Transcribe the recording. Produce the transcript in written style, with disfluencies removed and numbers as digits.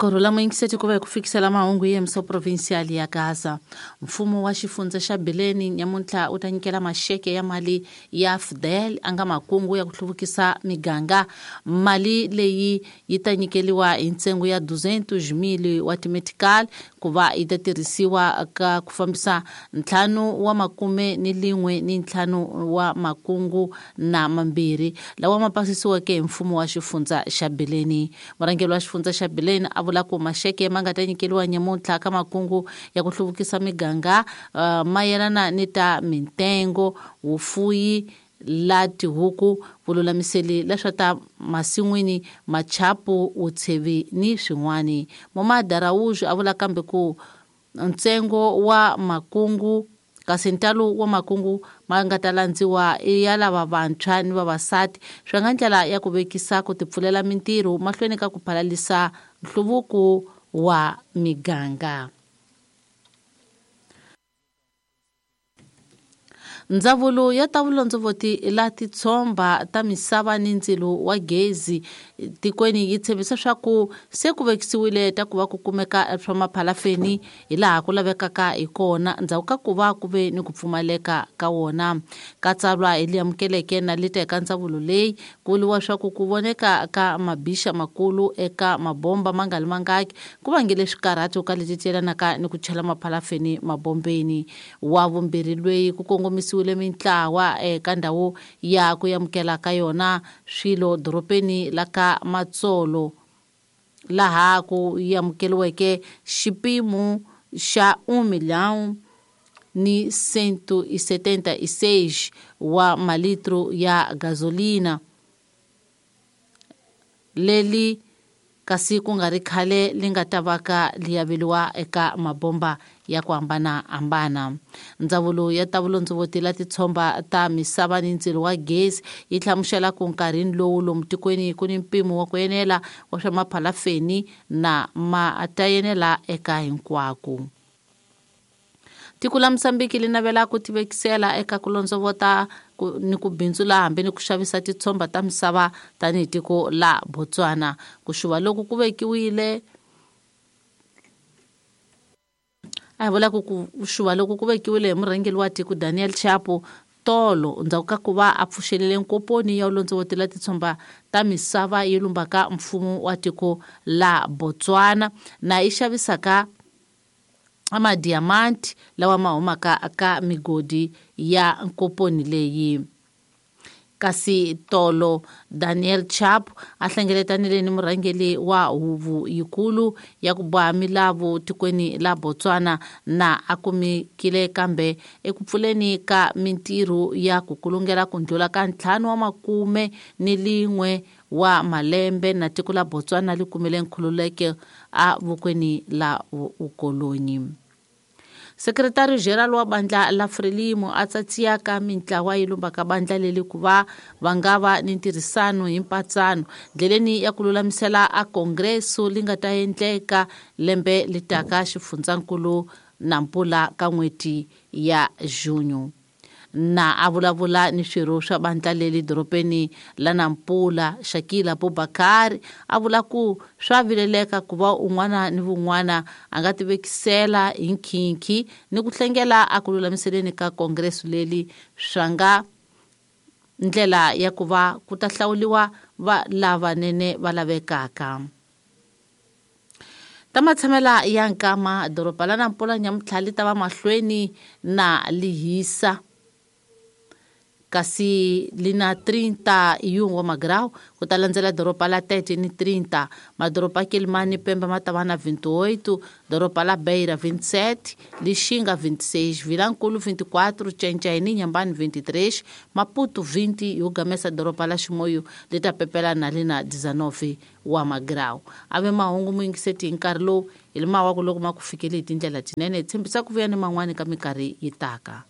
Korhula muyingiseti ku va hi ku fikisela mahungu hi yemiso provincial ya Gaza. Mfumo wa xifundza xa Bileni nyamuntlha wu ta nyikela maxeke ya mali ya Fidel a nga makungu ya ku hluvukisa miganga. Mali leyi yi ta nyikeliwa hi ntsengo ya 200,000 wa timetical ku va yi ta tirhisiwa ka ku fambisa 51 wa makungu na mambirhi lawa ma pasisiweke hi mfumo wa xifundza xa Bileni. Murhangeri wa xifundza xa Bileni a vula ku maxeke ma nga ta nyikeliwa nyamuntlha ka makungu ya ku hluvukisa miganga mayelana ni ta mintengo, vufuyi la tihuku, vululamiseli la swa ta masin'wini, machapu, vutshevi ni swin'wani. Momad Araújo a vula kambe ku ntsengo wa makungu kasi ntalo wa makungu ma nga ta landziwa i ya lava vantshwa ni vavasati swi nga ndlela ya ku vekisa ku tipfulela mintirho mahlweni ka ku phalalisa nhluvuko wa miganga. Ndzawulo ya ta vulondzovoti la titshomba ta misava ni ndzilo wa gezi tikweni yi tshembisa swa ku se ku vekisiwile ta ku va ku kumeka swa maphalafeni hi laha ku lavekaka hi kona ndzhaku ka ku va ku ve ni ku pfumaleka ka wona. Ka tsalwa hi li amukeleke na lita eka ndzawulo leyi ku vuriwa swa ku ku voneka ka mabixa makulu eka mabomba ma nga li mangaki ku vangele swikarhato ka leti ti yelanaka ni ku chela maphalafeni mabombeni. Wa vumbirhi lweyi ku kongomisiwile mintlawa eka ndhawu ya ku amukela ka yona swilo doropeni la ka Matsolo laha ku amukeliweke xipimo xa 1,176 wa malitro ya gasolina leli kasi ku nga ri khale li nga ta va ka li aveliwa eka mabomba ya ku hambanahambana. Ndzawulo ya ta vulondzovoti la titshomba ta misava ni ndzilo wa gezi yi hlamusela ku nkarhini lowu lomu tikweni ku ni mpimo wa ku enela wa swa maphalafeni na ma ta enela eka hinkwako. Tiko la Mozambique li navela ku tivekisela eka ku londzovota ni ku bindzula hambi ni ku xavisa titshomba ta misava tanihi tiko la Botswana. Ku xuva loku ku vekiwile a hi vula ku ku xuva loku ku vekiwile hi murhangeri wa tiko Daniel Chapo tolo ndzhaku ka ku va a pfuxelele nkoponi ya vulondzovoti la titshomba ta misava yi lumbaka mfumo wa tiko la Botswana na yi xavisaka amadiamanti lawa ma humaka ka migodi ya nkoponi leyi. Kasi tolo Daniel Chapo a hlengeletanile ni murhangeri wa huvo yikulu ya ku boha milawu tikweni la Botswana na a kumekile kambe eku pfuleni ka mintirho ya ku kulungela ku ndlula ka 51 wa malembe na tiko la Botswana li kumile nkhululeko a vokweni la vukolonyi. Sekretari General wa bandla la Frelimo a tsatsiya ka mintlawa yi lumbaka bandla leli ku va va nga va ni ntirhisano hi mpatsano ndleleni ya ku lulamisela a kongreso li nga ta endleka lembe li taka xifundzankulu na mpula ka n'hweti ya Junho. Na a vulavula ni swirho swa bandla leli doropeni la Nampula, Shakila Abubakar a vula ku swa vileleka ku va un'wana ni vun'wana a nga tivekisela hi nkhinkhi ni ku hlengela a ku lulamiseleni ka kongreso leli swa nga ndlela ya ku va ku ta hlawuliwa va lavanene va lavekaka. Ta matshamela ya nkama doroba la Nampula nyamuntlha li ta va mahlweni na lihisa kasi li na 31 wa magrau ku ta landzela doroba la Tete ni 30, madoroba Quelimane Pemba ma ta va na 28, doroba la Beira 27, Lixinga 26, Vilankulu 24, Tchentchai ni Inhambane 23, Maputo 20, yo gamesa doroba la Chimoio li ta pepela na li na 19 wa magrau. Ave mahungu muyingiseti hi nkarhi lowu hi li mawaku loko ma ku fikele hi tindlela tinene, hi tshembisa ku vuya ni man'wani ka minkarhi yi taka.